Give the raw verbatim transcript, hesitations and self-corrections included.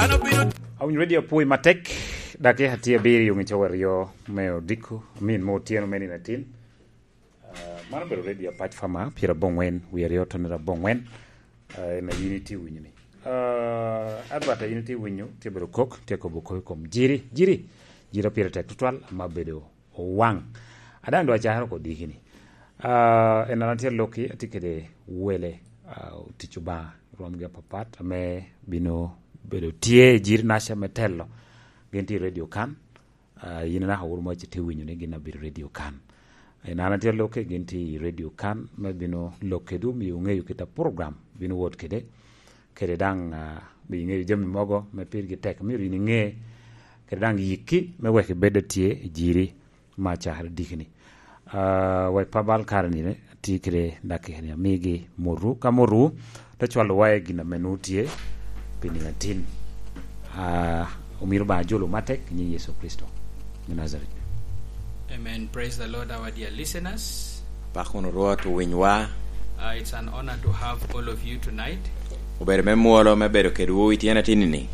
Awinyo redio apwoyi matek, dakika tye abiriyo ngica wa aryo me odiko, amin me otyeno me nino atin. Ah, man obedo redio Apac Fama, pyerabongwen, wie aryo tonere abongwen. Ah, en a yin itye winyo ni. Ah, adwat a yin itye winyo, tye bedo kok, tye kobo kok i kom Jiri. Jiri, Jiri pire tek tutwal, ama bedo Owaŋ. A daŋ dwa cakere oko diki ni. Ah, en an atye Loki, atye kede wele, ah, otic Obaŋa, rwomgi apapat, ame bino bedo tye i Jiri Naca me telo. Gin tye i redio kan. Ah, yin naka wuro mo ce tye winyo ni gin abedo redio kan. En an atye Loki, gin tye i redio kan, me bino lok kede omio ŋeyo kit a program bino wot kede. Kede daŋ, ah, bi ŋeyo jami mogo me pirgi tek, myero yin iŋe. Kede daŋ yikki me wek ibed atye i Jiri ma cakere diki ni. Ah, wa i pabal kare ni, tye kede dakika ni amigi motwu. Ka motwu, te cwalo wa i gin ame nwoŋo tye pi nino atin. Ah, omiro Obaŋa jolo matek i nyin Yecu Kricito me Najaret. Amen. Praise the Lord, our dear listeners. Pak wunu Rwot, owinywa. Uh, it's an honor to have all of you tonight. Obedo me mwolo me bedo kedwu i tyen atinni.